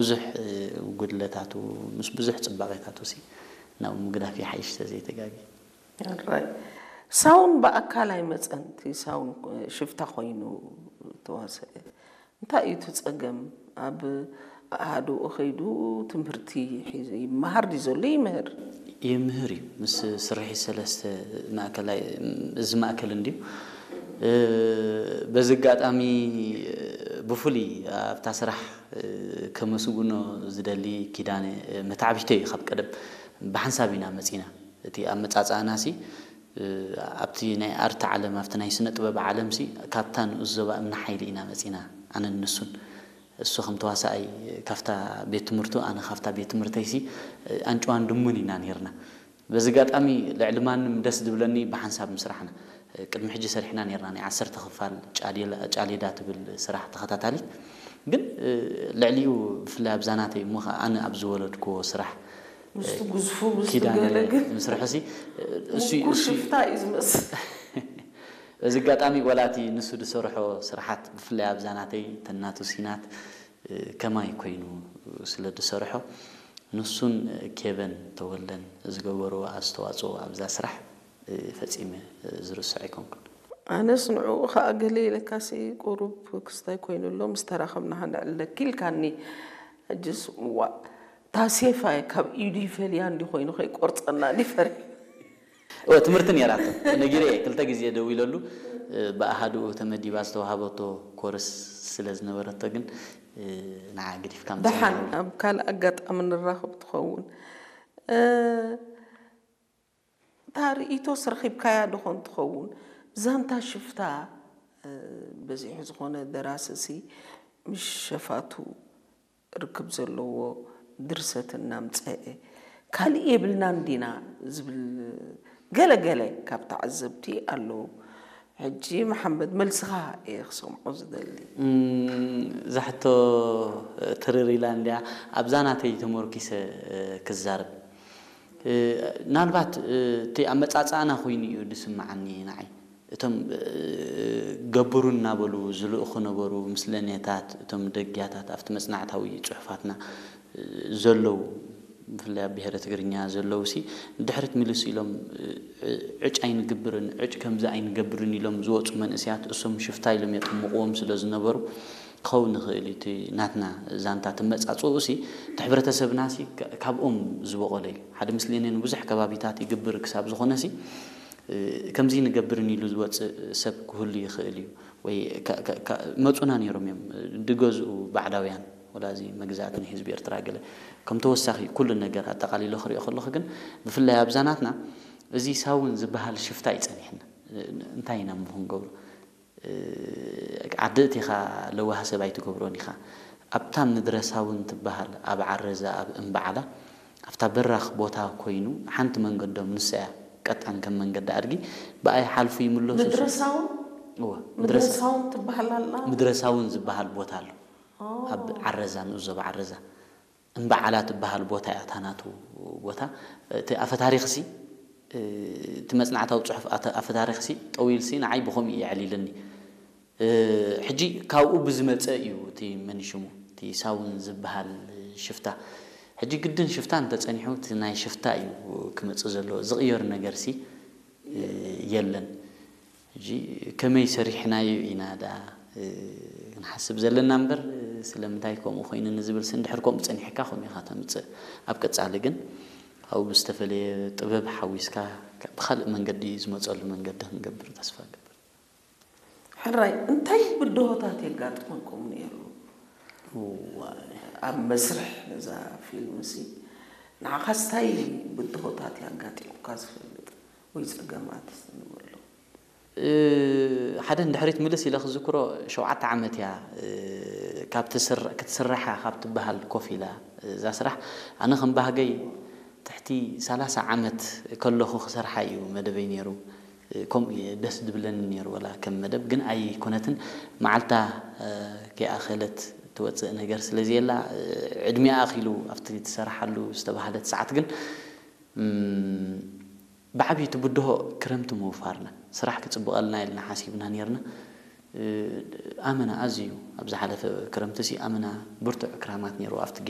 ብዙሕ ጉድለታቱ ምስ ብዙሕ ፅባቐታቱ ሲ ናብ ምግዳፍ ይሓይሽ ተዘይተጋጊ። ሳውን ብኣካል ኣይመፀን። እቲ ሳውን ሽፍታ ኮይኑ ተዋሰ እንታይ እዩ እቲ ፀገም? ኣብ ኣሃዱኡ ከይዱ ትምህርቲ ሒዙ ይመሃር ድዩ ዘሎ? ይምህር። ይምህር እዩ። ምስ ስርሒት ሰለስተ ማእከላይ እዚ ማእከል እንድዩ። በዚ ኣጋጣሚ ብፍሉይ ኣብታ ስራሕ ከመስግኖ ዝደሊ ኪዳነ መታዕቢተይ እዩ። ካብ ቀደም ብሓንሳብ ኢና መፂና። እቲ ኣመፃፅኣና ሲ ኣብቲ ናይ ኣርት ዓለም ኣብቲ ናይ ስነ ጥበብ ዓለም ሲ ካብታ ንኡስ ዞባ እምኒ ሓይሊ ኢና መፂና ኣነን ንሱን። እሱ ከም ተዋሳኣይ ካብታ ቤት ትምህርቱ ኣነ ካብታ ቤት ትምህርተይ ሲ ኣንጭዋን ድሙን ኢና ነርና። በዚ ኣጋጣሚ ልዕሊ ማንም ደስ ዝብለኒ ብሓንሳብ ምስራሕና። ቅድሚ ሕጂ ሰሪሕና ነርና ናይ ዓሰርተ ክፋል ጫሌዳ ትብል ስራሕ ተኸታታሊት። ግን ልዕሊኡ ብፍላይ ኣብዛ ናተይ እሞ ከዓ ኣነ ኣብ ዝወለድክዎ ስራሕ ምስቲ ግዝፉ ምስቲ ኪዳነ ገለ ግን ምስርሑ ሲ እሱ ምኩር ሽፍታ እዩ ዝመስል። በዚ ኣጋጣሚ ወላቲ ንሱ ዝሰርሖ ስራሓት ብፍላይ ኣብዛ ናተይ ተናቱ ሲናት ከማይ ኮይኑ ስለ ዝሰርሖ ንሱን ኬቨን ተወልደን ዝገበርዎ ኣስተዋፅኦ ኣብዛ ስራሕ ፈፂመ ዝርስዕ ኣይኮንኩን። ኣነስ ንዕኡ ከዓ ገለ ኢለካሲ ቁሩብ ክስታይ ኮይኑ ኣሎ ምስ ተራኸብና ንዕለኪ ኢልካኒ። ሕጅስ ዋ ታሴፋ ካብ ኢዱ ይፈልያ እንዲ ኮይኑ ከይቆርፀና እንዲ ፈሪ እወ ትምህርቲ ነይራቶ ነጊረ እየ ክልተ ግዜ ደዊለሉ። ብኣሃድኡ ተመዲባ ዝተዋሃበቶ ኮርስ ስለ ዝነበረቶ ግን ንዓ ግዲፍካ ምስ ደሓን ኣብ ካልእ ኣጋጣሚ ንራኸብ ትኸውን። እታ ርእይቶስ ረኺብካያ ዶ ኾን ትኸውን? ዛንታ ሽፍታ በዚሑ ዝኾነ ደራሲ ሲ ምስ ሸፋቱ ርክብ ዘለዎ ድርሰት እናምፀአ ካልእ የብልናን ዲና ዝብል ገለ ገለ ካብ ተዓዘብቲ ኣለዉ። ሕጂ መሓመድ መልስኻ እየ ክሰምዖ ዝደሊ። እዛ ሕቶ ትርር ኢላ እንድያ ኣብዛ ናተይ ተመርኪሰ ክዛረብ። ምናልባት እቲ ኣመፃፅኣና ኮይኑ እዩ ዝስምዓኒ ንዓይ። እቶም ገብሩ እናበሉ ዝልእኹ ነበሩ ምስለኔታት እቶም ደግያታት ኣብቲ መፅናዕታዊ ፅሑፋትና ዘለዉ ብፍላይ ኣብ ብሄረ ትግርኛ ዘለዉ ሲ ንድሕሪት ምልስ ኢሎም ዕጭ ኣይንግብርን ዕጭ ከምዚ ኣይንገብርን ኢሎም ዝወፁ መንእሰያት እሶም ሽፍታ ኢሎም የጥምቕዎም ስለ ዝነበሩ ክኸውን ይኽእል እዩ። እቲ ናትና ዛንታ ትመፃፅኡ ሲ እቲ ሕብረተሰብና ሲ ካብኦም ዝበቖለ እዩ። ሓደ ምስሌኔ ንብዙሕ ከባቢታት ይግብር ክሳብ ዝኾነ ሲ ከምዚ ንገብርን ኢሉ ዝወፅእ ሰብ ክህሉ ይኽእል እዩ። ወይ መፁና ነይሮም እዮም ድገዝኡ ባዕዳውያን ወላ እዚ መግዛእቲ ንህዝቢ ኤርትራ ገለ ከም ተወሳኺ ኩሉ ነገር ኣጠቓሊሎ ክሪኦ ከለኹ ግን ብፍላይ ኣብዛ ናትና እዚ ሳውን ዝበሃል ሽፍታ እዩ ፀኒሕና። እንታይ ኢና እሞ ክንገብሮ? ዓዲ እቲኻ ለዋህ ሰብ ኣይትገብሮን ኢኻ። ኣብታ ምድረ ሳውን ትበሃል ኣብ ዓረዛ ኣብ እምበዓላ ኣብታ በራኽ ቦታ ኮይኑ ሓንቲ መንገዶም ንሳ እያ ቀጣን ከም መንገዲ ኣድጊ ብኣይ ሓልፉ ይምለሱ። ምድረ ሳውን እወ ምድረ ሳውን ትበሃል ኣላ። ምድረ ሳውን ዝበሃል ቦታ ኣሎ ኣብ ዓረዛ ንኡስ ዞባ ዓረዛ እምበዓላ ትበሃል ቦታ እያ እታ ናቱ ቦታ። እቲ ኣፈታሪኽሲ እቲ መፅናዕታዊ ፅሑፍ ኣፈታሪኽሲ ጠዊልሲ ንዓይ ብኸምኡ እዩ የዕሊልኒ። ሕጂ ካብኡ ብዝመፀ እዩ እቲ መንሽሙ እቲ ሳውን ዝበሃል ሽፍታ። ሕጂ ግድን ሽፍታ እንተፀኒሑ እቲ ናይ ሽፍታ እዩ ክመፅእ ዘለዎ ዝቕየር ነገርሲ የለን። ሕጂ ከመይ ሰሪሕናዮ ኢና ደኣ ክንሓስብ ዘለና እምበር ስለምንታይ ከምኡ ኮይኑ ንዝብል ሲ እንድሕር ከምኡ ፀኒሕካ ከምኡ ኢኻ ተምፅእ። ኣብ ቀፃሊ ግን ኣብኡ ብዝተፈለየ ጥበብ ሓዊስካ ብካልእ መንገዲ ዝመፀሉ መንገዲ ክንገብር ተስፋ እገብር። ሕራይ እንታይ ብድሆታት የጋጥመኩም ነይሩ? እዋይ። ኣብ መስርሕ እዛ ፊልም ሲ ንዓኻስ እንታይ ብድሆታት ያጋጢሙካ ዝፈልጥ ወይ ፀገማት ንበሎ? ሓደ ንድሕሪት ምልስ ኢለ ክዝክሮ ሸውዓተ ዓመት እያ ካብ ክትስራሕ እያ ካብ ትበሃል ኮፍ ኢላ እዛ ስራሕ። ኣነ ከም ባህገይ ትሕቲ ሰላሳ ዓመት ከለኹ ክሰርሓ እዩ መደበይ ነይሩ። ከምኡ እየ ደስ ዝብለኒ ነይሩ ወላ ከም መደብ ግን ኣይኮነትን። መዓልታ ከይኣኸለት ትወፅእ ነገር ስለ ዘየላ ዕድሚኣ ኣኺሉ ኣብቲ ትሰርሓሉ ዝተባህለት ሰዓት ግን ብዓብዩ እቲ ብድሆ ክረምቲ ምውፋርና ስራሕ ክፅብቐልና ኢልና ሓሲብና ነርና። ኣመና ኣዝዩ ኣብ ዝሓለፈ ክረምቲ ሲ ኣመና ብርቱዕ ክራማት ነይሩ ኣብቲ ጌሽ